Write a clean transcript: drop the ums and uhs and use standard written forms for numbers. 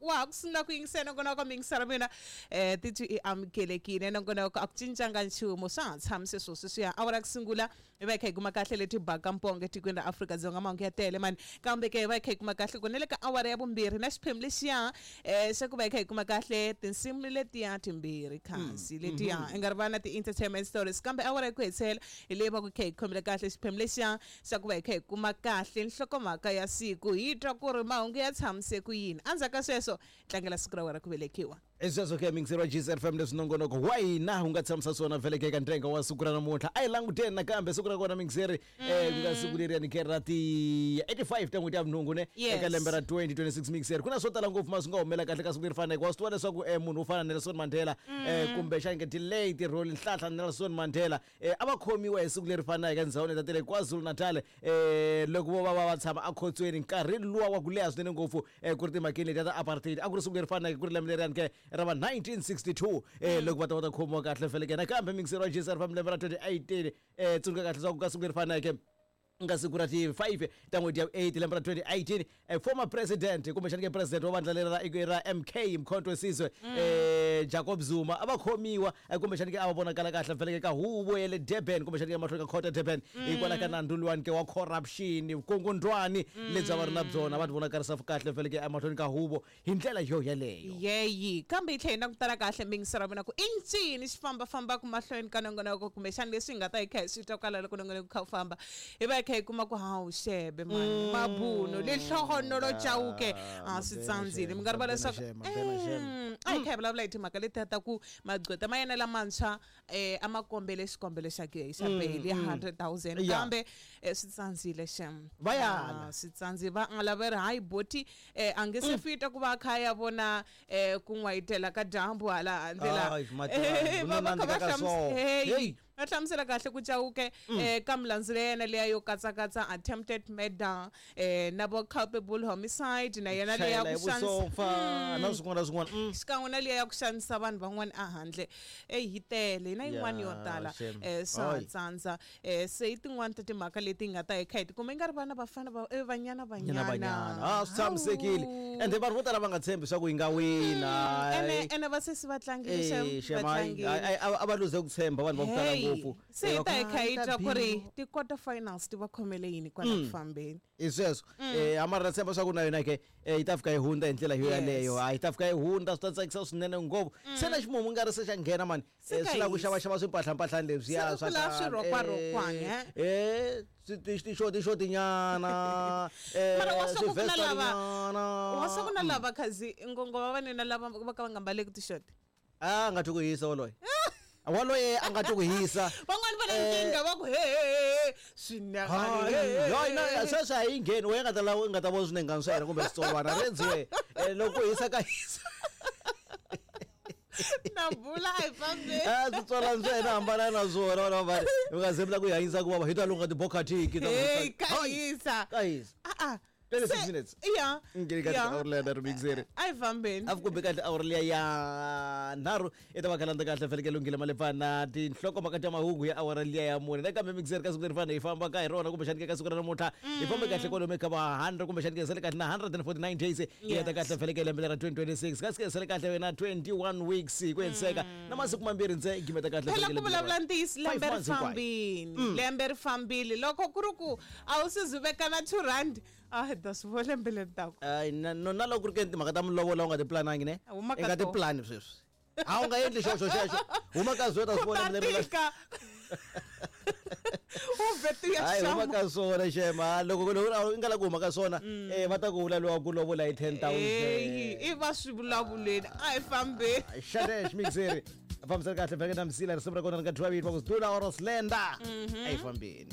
Loko wa ha ku sungula ku yingisela nongonoko, miyingisela mina titwi i amukelekile. Nongonoko a ku cincanga nchumu, swa ha tshamise swo sweswiya. Awara ku sungula hi va hi kha hi kuma kahle leti baka mpongo etikweni ra Afrika-Dzonga, mahungu ya tele mani. Kambe ke hi va hi kha hi kuma kahle ku na le ka awara ya vumbirhi na xiphemu lexiya xa ku va hi kha hi kuma kahle tinsimu letiya timbirhi kasi letiya i nga ri va na ti-entertainment stories. Kambe awara ya ku hetisela hi leyi va ku kha hi khomile kahle xiphemu lexiya xa ku va hi kha hi kuma kahle nhlokomhaka ya siku, hi twa ku ri mahungu ya tshamise ku yini. Endzhaku ka sweswo tlangela siku ra wena ra ku velekiwa. I sweswo ke miyingiseri wa GCFM, leswi nongonoko wa hina wu nga tshamisa swona vhele ke eka ntsengo wa siku ra namuntlha. A hi languteni nakambe siku ra kona, miyingiseri, ku nga siku leriyani ke ra ti 85 ta n'hweti ya vunhungu ne eka lembe ra 2026. Miyingiseri, ku na swo tala ngopfu ma swi nga humela kahle ka siku leri faneke. Wa swi tiva leswaku munhu wo fana na Nelson Mandela, kumbexani ke ti-late Rolihlahla Nelson Mandela, a va khomiwa hi siku leri fanaka endhawini ta le KwaZulu-Natal, loko vo va va va tshama ekhotsweni nkarhi luwa wa ku leha swinene ngopfu, ku ri timhakeni letiya ta apartheid. A ku ri siku leri fanaka, ku ri lembe leriyani ke ra va 1962, loko va ta va ta khomiwa kahle feleke. Nakambe miyingiseri wa GCR fam, lembe ra 2018, tsundzuka kahle leswaku ka siku leri faneke, nga siku ra ti 5 ta n'hweti ya 8 lembe ra 2018, former president kumbexani ke president wa vandla leri ra MK, Mkhonto Wesizwe, Jacob Zuma, a va khomiwa, kumbexani ke a va vonakala kahle feleke ka huvo ya le Durban, kumbexani ke mahlweni ka court ya Durban, hikwalaho ka nandzu luwani ke wa corruption, vukungundwani lebyi a va ri na byona. Va ti vonakarisa kahle feleke emahlweni ka huvo hi ndlela yo yeleyo. Yeyi, kambe yi tlhela yi langutana kahle mingiso ra vona ku i ncini xi fambafambaka mahlweni ka nongonoko, kumbexana leswi hi nga ta hi kha hi swi twa kwala loko nongonoko kha wu famba, hi va hi kha hi kuma ku hawu xebe mani, mabuno lehlohonolo chauke a swi tsandzile. Mi nga rivala leswaku a hi kha hi vulavula hi timhaka letiya ta ku magqweta ma yena lamantshwa a ma kombele xikombelo xa ke xa bail ya 100,000, kambe swi tsandzile xem. Va yala. Swi tsandzile, va ala, va ri hayi boti, a nge se fita ku va a kha a ya vona ku n'wayitela ka dyambu hala handle la. Ay, matirani, Va va kha va ku nandzika ka hlamusela, so. Hey, Hey. va hlamusela kahle ku Chauke, ka milandzu ya yena liya yo katsakatsa attempted murder, na vo culpable homicide, na yena liya ya Chayela hi ku xanisa vusopfa na swin'wana na swin'wana. Xikan'we na liya ya ku xanisa vanhu van'wana ehandle. Eyi, yi tele na yin'wana yo Ya, tala. shame. Swa Ay. tsandza. Se i tin'wani ta timhaka leti hi nga ta hi kha hi tikuma i nga ri vana vafana va Banyana Banyana Banyana. Banyana. Ah, swi tshamisekile. Hawu. Ende vanhu vo tala va nga tshembi swa ku yi nga wina. Ene ene vasesi va tlangile Eh, xem, shem, va hayi, tlangile. hayi, a va luze ku tshemba vanhu va ku tala Hey, ngopfu. se Eh, hi va ta ku, hi kha hi "Ah, twa ku ri ta ti-quarter finals ti va khomele yini kwala ku fambeni. Hi sweswo, a mara na tshemba swa ku na yona ke, yi ta fika yi hundza hi ndlela yo yaleyo. A yi ta fika yi hundza, swi ta tsakisa swinene ngopfu. Se na ximumu nga ri se xa nghena mani. Se ka Swi lava ku hisa. xavaxava swimpahlampahlani leswiya Se swa ku lava khale. swirhokwarhokwani, Eh, tixotinyana, Mara wa swa ku ku na lava swivestanyana. wa swa ku na lava khazi ngongo va vanena lava va ka va nga mbaleki tixoti. A nga twi ku hisa woloye, waloye a nga twi ku hisa. Van'wani va na nkingha, va ku he he he, swinengani. Hayi, na sweswi a yi ngheni. Wena nga ta lava nga ta vona swinengani swa yena kumbe switsolwana rendziwe. Loko ku hisa ka hisa. Na bula, a hi fambeni. A switsolwana swa yena hambana na swona vana va vari nga zemula ku hi hanyisa ku vava hi ta lunga tibokhatiki. Hey, ka hisa. Ka hisa. A a 26 Se- minutes. Ya. Ngeni ka awuri leya nharhu, mixeri. A hi fambeni. A fi kumbe kahle awuri liya ya nharhu i ta va khalanda kahle feleke lunghile malefana tinhlokomhaka ta mahungu ya awara liya ya mune. Nakambe mixeri, ka siku leri fana hi famba ka hi rona, kumbexani ke ka siku ra namuntlha hi fambe kahle kwalomu ka va 100, kumbexani ke sele kahle na 149 days hi heta kahle feleke lembe lera 2026, kasi ke sele kahle wena 21 weeks hi ku hetiseka na masiku mambirhi ntse gimeta kahle Phela feleke ku lembe lera. vulavula ntiyiso, Five lembe ri months hinkwayo. fambini, lembe ri fambile. Loko ku ri ku a wu se zi veka na R2, a hi ta swi vona lembe leri taka. Ay, na loko ku ri ke timhaka ta milovola u nga ti planangi ne, Huma i ka nga ti to. plani sweswi, a wu nga endli xoxo xexo, huma ka swona, ta swi Ku vona ta lembe leri. tika u vheti ya Hayi, huma xama. ka swona xema. Loko i nga la ku huma ka swona, va ta ku vula lowa ku lovola hi 10,000. Eyi, i va swi vulavuleni, a hi fambeni. Xadex mixeri fambisani kahle vheke na msila risimu ra kona ri nga dyiwa vito va ku Dula or Slender. A yi fambeni.